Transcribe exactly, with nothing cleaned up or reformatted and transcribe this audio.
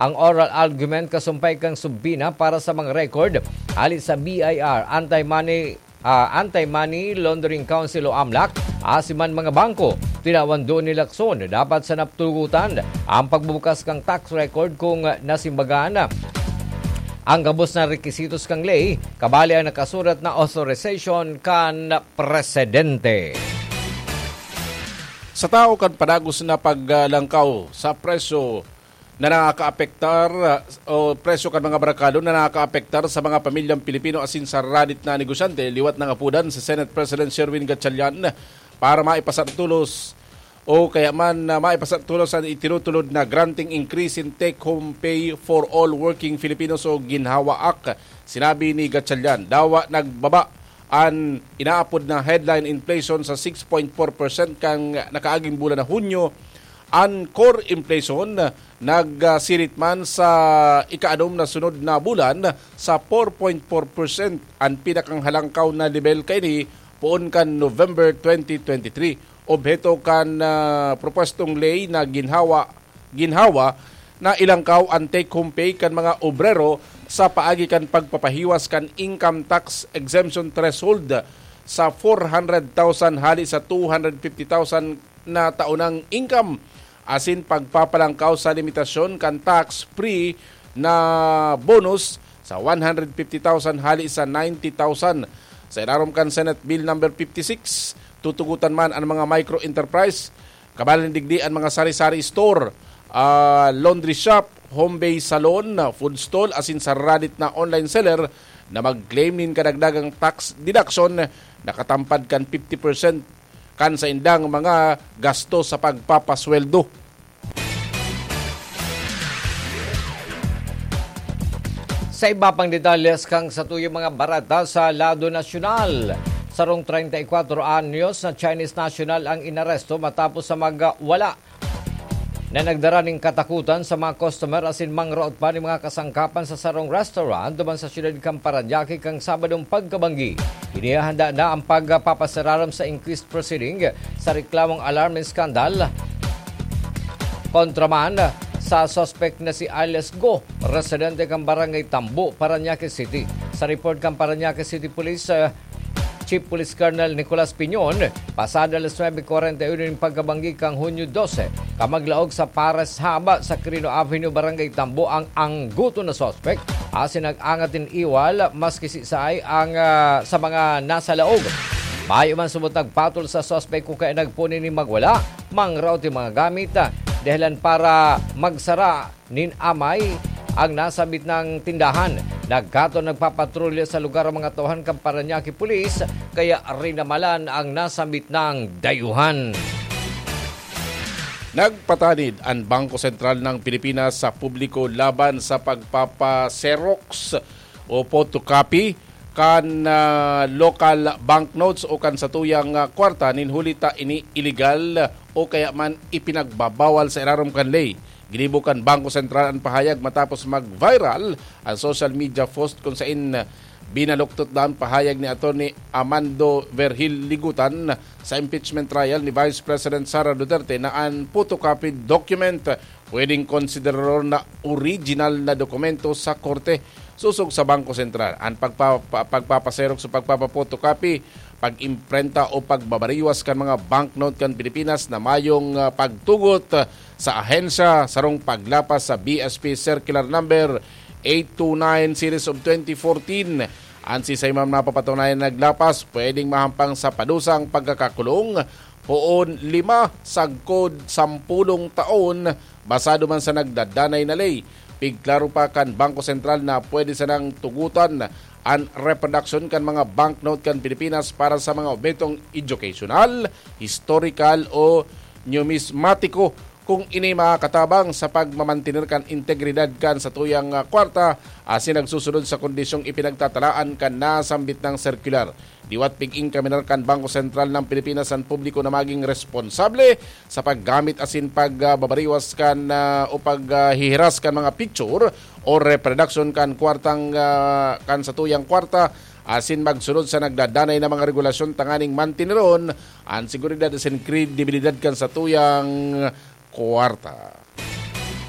ang oral argument kasumpay kan subpoena para sa mga record hali sa B I R, Anti-Money, ah, Anti-Money Laundering Council o amlac, asin man mga bangko. Tinawan duon ni Lacson na dapat sana tugutan ang pagbubukas kan tax record kung nasimbagan ang gabos na requisitos kan ley, kabali ang nakasurat na authorization kan presidente. Sa tao kan padagos na paglangkaw sa presyo na nakakaapektar, o presyo kan mga merkado na nakakaapektar sa mga pamilyang Pilipino asin sa radit na negosyante, liwat nangapodan si Senate President Sherwin Gatchalian para maipasantulos o kaya man na maipasantulos an itinutulod na granting increase in take-home pay for all working Filipinos o GINHAWA Act. Sinabi ni Gatchalian, dawa nagbaba an inaapod na headline inflation sa six point four percent kan nakaaging bulan na Hunyo. An core inflation nagsirit man sa ika-anom na sunod na bulan sa four point four percent, an pinakang halangkaw na lebel kaini poon kan November twenty twenty-three. Obheto kan, ah, propwestong ley na ginhawa, ginhawa na ilangkaw an take-home pay kan mga obrero sa paagi kan pagpapahiwas kan income tax exemption threshold sa four hundred thousand hali sa two hundred fifty thousand na taonang income, asin pagpapalangkaw sa limitasyon kan tax-free na bonus sa one hundred fifty thousand hali sa ninety thousand. Sa ilarom kan Senate Bill Number fifty-six, tutugotan man an mga micro-enterprise, kabali digdi an mga sari-sari store, ah, laundry shop, home-based salon, food stall, asin sa radit na online seller na mag-claim nin kadagdagang tax deduction na katampad kan fifty percent kan saindang mga gasto sa pagpapasweldo. Sa iba pang detalles kan satuyang mga bareta sa lado nasyonal, sarong treinta y cuatro anyos na Chinese national ang inaresto matapos sa magwala na nagdara nin katakutan sa mga customer asin mangraot pa nin mga kasangkapan sa sarong restaurant duman sa siyudad kan Parañaque kan Sabadong pagkabanggi. Inihahanda na ang pagpapasararam sa inquest proceeding sa reklamong alarm and scandal kontra man sa suspect na si alias Go, residente kan Barangay Tambo, Parañaque City. Sa report kan Parañaque City Police, ah, Chief Police Colonel Nicolas Piñon, pasado alas nuebe cuarenta y uno nin pagkabanggi kan Hunyo dose, kamaglaog sa Pares Haba sa Quirino Avenue, Barangay Tambo, ang angguton na suspek asin nag-angat nin iwal maski siisay ang, ah, sa mga nasa laog. Mayo man subot nagpatol sa suspek o kaya nagpuni nin magwala, mangraot nin mga gamit, ah, dahilan para magsara nin amay ang nasambit na tindahan. Nagkataon nagpapatrolya sa lugar ang mga tauhan kan Parañaque Police, kaya rinamalan ang nasambit na dayuhan. Nagpatanid an Bangko Sentral ng Pilipinas sa publiko laban sa pagpapa-xerox o photocopy kan, ah, local banknotes o kan satuyang, ah, kwarta nin huli ta ini iligal o kaya man ipinagbabawal sa irarom kan ley. Ginibo kan Bangko Sentral an pahayag matapos mag-viral ang social media post kung sain binaluktot na an pahayag ni Attorney Amando Vergil Ligutan sa impeachment trial ni Vice President Sara Duterte na an photocopied document pwedeng konsiderar na original na dokumento sa korte. Sosog sa Bangko Sentral, an pagpa-, pa-, pagpapaserok sa pagpapa-photocopy, pag-imprenta o pagbabariwas kan mga banknote kan Pilipinas na mayong, ah, pagtugot, ah, sa ahensya, sarong paglapas sa B S P Circular Number eight two nine Series of twenty fourteen. An siisay man mapapatunayan na naglapas, pwedeng mahampang sa padusang pagkakakulong poon lima sagkod sampolong taon, basado man sa nagdadanay na ley. Pigklaro pa kan Bangko Sentral na pwede sanang tugotan an reproduction kan mga banknote kan Pilipinas para sa mga obhetong educational, historical o numismatiko kung ini makakatabang sa pagmamantener kan integridad kan satuyang, ah, kwarta, asin nagsusunod sa kondisyong ipinagtatalaan kan nasambit na sirkular. Liwat pig-inkaminar kan Bangko Sentral ng Pilipinas an publiko na maging responsable sa paggamit asin pagbabariwas kan, ah, o paghihiras kan mga picture o reproduction kan kwartang, ah, kan satuyang kwarta, asin magsunod sa nagdadanay na mga regulasyon tanganing manteneron an seguridad asin kredibilidad kan satuyang kwarta.